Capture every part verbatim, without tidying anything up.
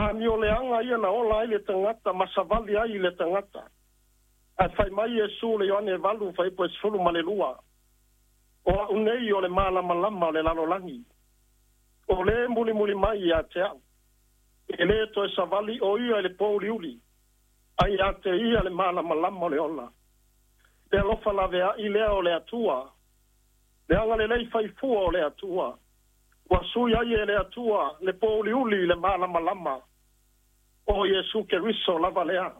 Amioleaga ia na ola ai le tagata ma savali ai i le tagata. Ae fai mai Iesu le Ioane valu fuaiupu e sefulu ma le lua. O a'u nei o le malamalama o le lalolagi. O lē mulimuli mai ia te a'u. E lē toe savali o ia i le pouliuli. Ai ia te ia le malamalama o le ola. Le alofa laveai lea o le Atua. Le agalelei faifua o le Atua. Ua sui ai e le Atua le pouliuli i le malamalama. O Iesu Keriso lava lea.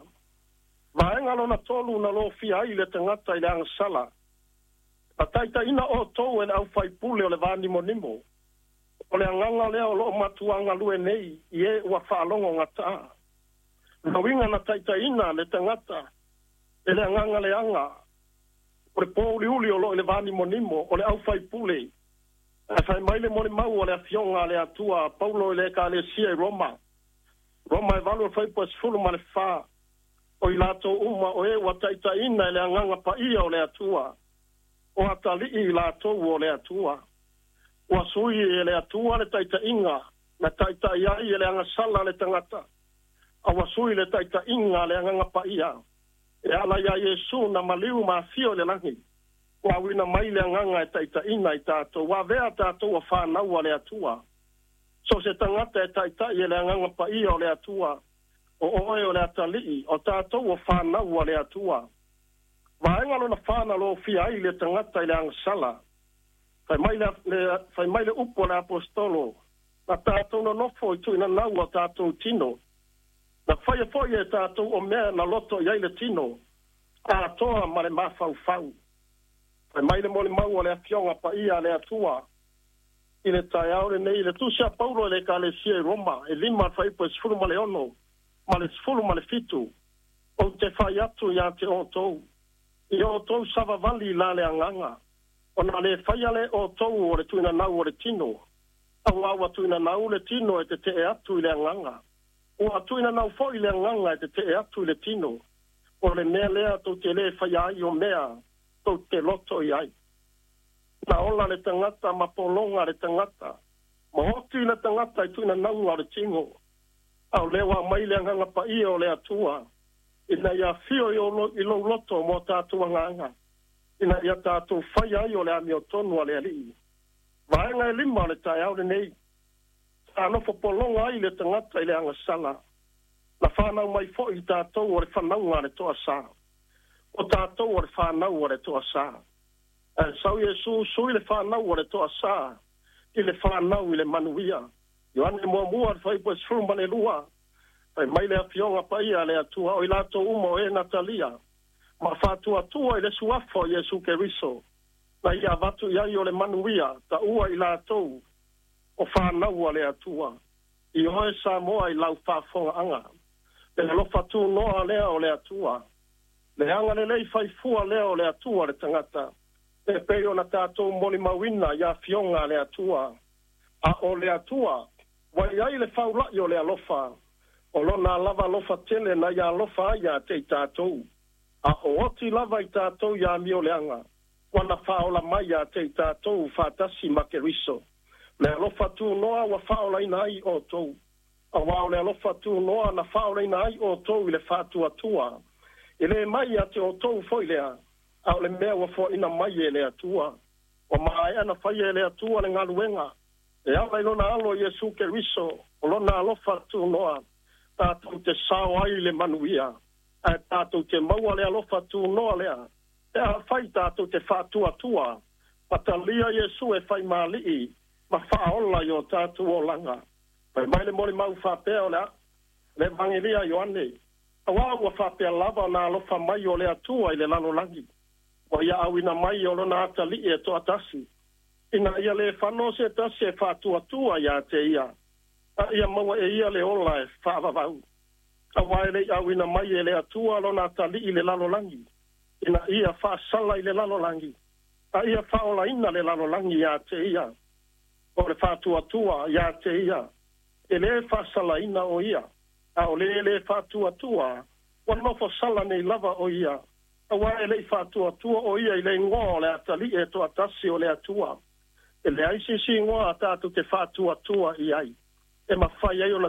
Vaega lona tolu na lofia ai le tagata i le agasala. Na taitaiina outou e le aufaipule o le vanimonimo. O le agaga lea o loo matuagalue nei i e ua faalogo gataa. Na uiga na taitaiina le tagata e le agaga leaga o le pouliuli o loo i le vanimonimo o le aufaipule. Ae fai mai le molimau o le afioga a le Atua Paulo i le Ekalesia i Roma. Roma e valu fuaiupu e sefulu ma le fa. O i latou uma o e ua taitaiina e le agaga paia o le Atua. O atalii i latou o le Atua. Ua sui e le Atua le taitaiga na taitai ai e le agasala le tagata. A ua sui le taitaiga le agaga paia. E ala ia Iesu na maliu ma afio i le lagi. Ua auina mai le agaga e taitaiina i tatou. Ua avea tatou o fanau a le Atua. So se tagata e taitai e le agaga paia o le Atua. O oe o le atalii, o tatou o fanau a le Atua. Vaega lona fa na lofia ai le tagata i le agasala. Fai mai le, le, fai mai le upu o le apostolo. Na tatou nonofo i tuinanau o tatou tino. Na faia foi e tatou o mea na loto i ai le tino. Atoa ma le mafaufau. Fai mai le molimau o le afioga paia a le Atua. I le taeao lenei, le tusi a Paulo i le Ekalesia i Roma, e lima fuaiupu e sefulu ma le ono, ma le sefulu ma le fitu. Ou te fai atu ia te outou. I outou savavali la le agaga. Ona le faia le outou o le tuinanau o le tino. Auā ua tuinanau le tino e tetee atu i le agaga. Ua tuinanau foi le agaga e tetee atu i le tino. O le mea lea tou te le faia ai o mea tou te loto i ai. Na ola le tagata ma pologa le tagata. Ma oti le tagata i tuinanauga o le tino. A o lea ua aumai le agaga paia o le Atua. Ina ia afio i lou loto mo tatou agaga. Ina ia tatou faia ai o le amiotonu a le Alii. Vaega e lima o le taeao lenei. Sa nofo pologa ai le tagata i le agasala. Na whanau mai foi i tatou o le whanauga a le toasa. O tatou o le whanau o le toasa. Ae sau Iesu sui le whanau o le toasa i le whanau i le manuia. Ioane muamua le fuaiupu e sefulu ma le lua. Fai mai le afioga paia le Atua o i latou uma o e natalia. Ma faatuatua i le suafa o Iesu Keriso. Na ia avatu i ai o le manuia taua i latou o whanau a le Atua. I oe Samoa i lau faafogaaga. Le alofa tunoa lea o le Atua. Le agalelei faifua lea o le Atua le tagata. E pei ona tatou molimauina i afioga a le Atua. A o le Atua, ua i ai le faulai o le alofa. O lona lava alofa tele na ia alofa ai ia te i tatou. A o oti lava i tatou ia amioleaga. Ua na faaola mai ia te i tatou faatasi ma Keriso. Le alofa tunoa ua faaolaina ai outou. Auā o le alofa tunoa na faaolaina ai outou i le faatuatua. E le mai ia te outou foi lea. A o le mea ua foaina mai e le Atua. Ua maea na faia e le Atua le galuega. E ala i lona alo Iesu Keriso, o lona alofa tunoa, tatou te sao ai le manuia. Ae tatou te maua le alofa tunoa lea. E a fai tatou te faatuatua. Patalia Iesu e fai mali'i, ma faaola i o tatou olaga. Fai mai le molimau faapea o le le Evangelia Ioane. Auā ua faapea lava ona alofa mai o le Atua i le lalolagi. Ua ia auina mai o lona atalii e toatasi. Ina ia le fano se tasi e faatuatua ia te ia. A ia maua e ia le ola e faavavau. Auā e le auina mai e le Atua lona atalii i le lalolagi. Ina ia faasala i le lalolagi. A ia faaolaina le lalolagi ia te ia. O le faatuatua ia te ia. E le faasalaina o ia. A o le le faatuatua. Ua nofo sala nei lava o ia. Auā e le i faatuatua o ia i le igoa o le atalii e toatasi o le Atua. E leai se isi igoa tatou te faatuatua i ai. E mafai ai ona